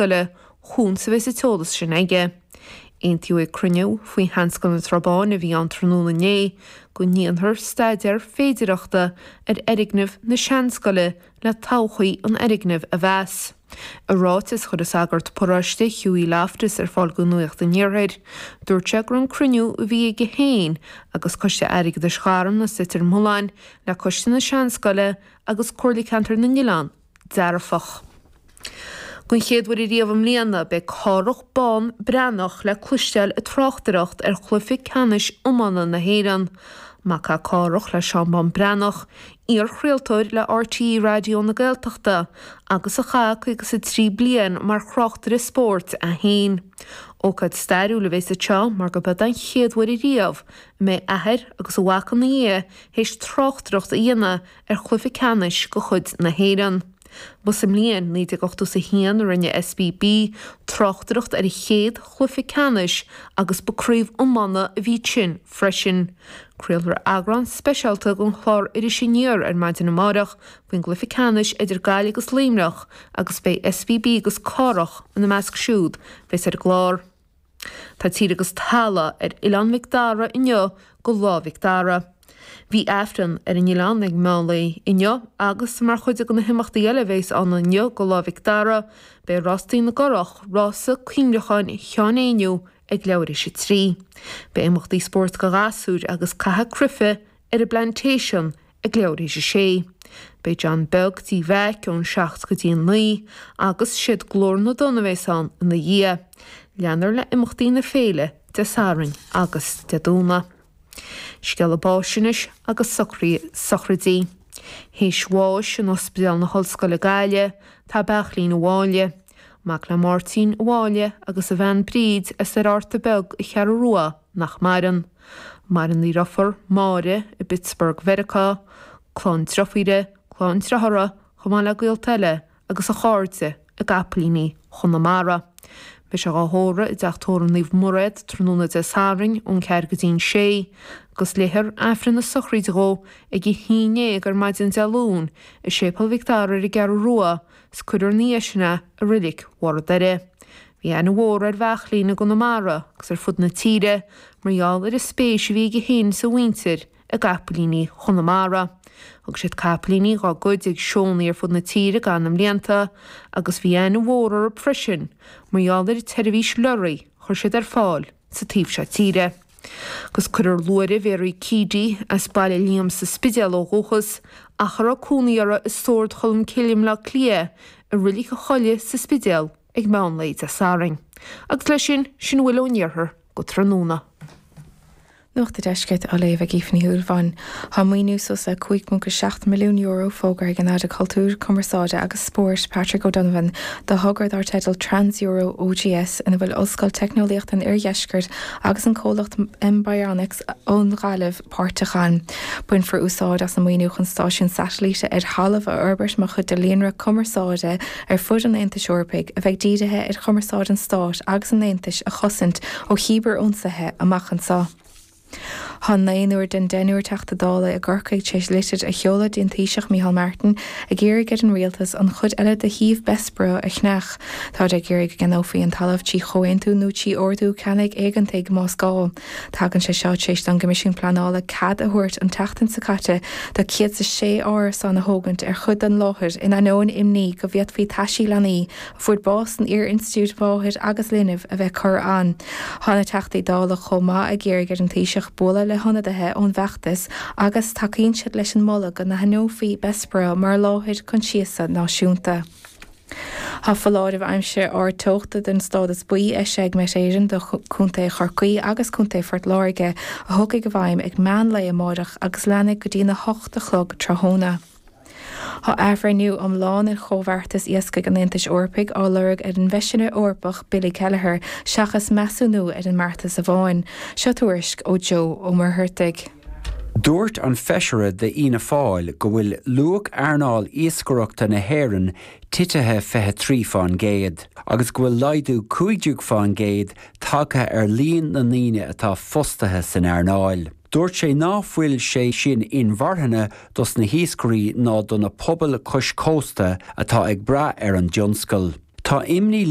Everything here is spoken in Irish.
Seanscoile chugainn is a bheas an t-eolas sin aige. Aontaíodh ag cruinniú faoi Sheanscoil na Trá Báine a bhí ann tráthnóna inné go ndéanfar staidéar féidireachta ar fhoirgneamh na Seanscoile le todhchaí an fhoirgnimh a mheas. I ráiteas a chuir an sagart paróiste Hughie Loftus ar fáil do Nuacht an Iarthair, dúirt sé go raibh an cruinniú a bhí aige féin agus Coiste Airgeadais Gharmna is Leitir Mealláin le Coiste na Seanscoile agus Comhairle Ceantair na nOileán dearfach. Don chéad uair ariamh i mbliana, beidh Cárthach Bán Breathnach le cloisteáil ag tráchtaireacht ar chluiche ceannais iomána na hÉireann. Mac é Cárthach le Seán Bán Breathnach, iar-chraoltóir le RTÉ Raidió na Gaeltachta agus a chaith 53 bliain mar thráchtaire spóirt é féin. Ócáid stairiúil a bheas anseo mar gurb é don chéad uair ariamh a mbeidh athair agus a mhac ina dhiaidh théis tráchtaireacht a dhéanamh ar chluiche ceannais de chuid na hÉireann. Ba sa mbliain 1981 a rinne SBB tráchtaireacht ar a chéad chluiche ceannais agus ba craobh iomána a bhí ansin freisin. Craolfar eagrán speisialta den chlár Iris Aniar ar maidin amárach faoin gcluiche ceannais idir Gaillimh agus Luimneach agus beidh SBB agus Cárthach ina measc siúd a bheas ar an gclár. Tá tír agus talamh ar Oileán Mhic Dara inniu go Lá Mhic Dara. Bhí Aifreann ar an oileán ag meán lae inniu agus mar chuid de na himeachtaí eile a bheas ann inniu go Lá Mhic Dara, beidh Rástaí na gCurrach, Rása Cuimhneacháin Sheáin Éinniú ag leathuair théis a 3. Beidh imeachtaí spóirt do ghasúir agus caitheamh cruife ar an bPlantation ag leathuair théis a sé. Beidh John Beag Tigh Mheaic ón 7 go dtí an 9 agus siad Glór na dTonn a bheas ann ina dhiaidh. Leanfar le imeachtaí na féile Dé Sathairn agus Dé Domhnaigh. Scéala báis anois agus sochraidí. Théis bháis in Ospidéal na hOllscoile Gaillimh tá Beairtlín Ó Mháille. Mac le Máirtín Ó Mháille agus a bhean Bríd as Ar Fhárta Beag an Cheathrú Rua nach maireann. Maireann a dheirfiúr, Máire, i bPittsburgh Mheiriceá, clann driofúire, clann driothara, chomh maith le gaolta eile agus a chairde i gCapaillíní Chonamara. Beidh sé dhá thórramh i dTeach Tórraimh Naomh Mairéad tráthnóna Dé Sathairn ón 4 go dtí an 6 agus léifear Aifreann na sochraide dhó ag a 11 ar maidin Dé Luain i Séipéal Mhic Dara ar an gCeathrú Rua 's cuirfear ina dhiaidh sin é i Reilig Bharr an Doire. Bhí aithne mhór ar Bheairtlín i gConamara agus ar fud na tíre mar gheall ar an spéis a bhí aige féin is a mhuintir i gcapaillíní Chonamara. Thug siad capaillíní dhá gcuid ag seónna ar fud na tíre i gcaitheamh na mblianta agus bhí aithne mhór orthu freisin mar gheall ar an tseirbhís leoraí a chuir siad ar fáil sa taobh seo tíre. Agus cuirfear luaithre Mhary Keady, as Baile Liam sa Spidéal ó dhúchas, ach a raibh cónaí uirthi i Sord Cholm Cille i mBleá Cliath, i Reilig a' Choilligh sa Spidéal ag meán lae Dé Sathairn. Agus leis sin, sin a bhfuil ón iarthar go tráthnóna. Nuacht an Deiscirt á léamh ag Aoife Ní Shúilleabháin. Tá maoiniú suas le €5.7 milliún fógartha ag an Aire Cultúir, Cumarsáide agus Spóirt, Patrick O'Donovan, do thogra dar teideal Trans-Euro OGS ina bhfuil Ollscoil Teicneolaíochta an Oirdheiscirt agus an comhlacht Mbryonics ón Ghaillimh páirteach ann. Bainfear úsáid as an maoiniú chun stáisiún satailíte ar thalamh a fhorbairt mar chuid de líonra cumarsáide ar fud an Aontais Eorpaigh a bheidh dírithe ar chumarsáid an Stáit agus an Aontais a chosaint ó chíbear-ionsaithe amach anseo. Tá naonúr den deichniúr Teachta Dála i gCorcaigh tar éis litir a sheoladh dtí an Taoiseach Micheál Martin ag iarraidh ar an Rialtas an chuid eile de shuíomh Bessborough a cheannach. Táid ag iarraidh go gceannófaí an talamh trí chomhaontú nó trí ordú ceannaigh éigeantaigh más gá. Tagann sé seo tar éis don gCoimisiún Pleanála cead a thabhairt an tseachtain seo caite do 106 árasán a thógaint ar chuid den láthair in ainneoin imní go bhféadfaí taisí leanaí a fuair bás san iar-institiúid mháthair agus linbh a bheith curtha ann. Tá na Teachtaí Dála chomh maith ag iarraidh ar an Taoiseach bualadh le hionadaithe ón bhfeachtas agus tacaíonn siad leis an moladh go n-aithneofaí Bessborough mar láthair coinsiasa náisiúnta. Tá foláireamh aimsire ard-teochta den stádas buí eisithe ag Met Éireann do Chontae Chorcaí agus Contae Phort Láirge a thiocfaidh i bhfeidhm ag meán lae amáireach agus leanfaidh go dtí'n 8 a chlog tráthnóna. Tá athbhreithniú iomlán ar chomhbheartas iascaigh an Aontais Eorpaigh á lorg ag an bhFeisire Eorpach Billy Kelleher seachas measúnú ar an mbeartas amháin. Seo tuairisc ó Joe Ó Muircheartaigh. Dúirt an feisire d'Fhianna Fáil go bhfuil luach earnáil iascaireachta na hÉireann titithe 23% agus go bhfuil laghdú 15% tagtha ar líon na ndaoine atá fostaithe san earnáil. Dúirt sé ná fuil sé sin inmharthana dos na hiascairí ná do na pobail cois cósta atá ag brath ar an dtionscal. Tá imní.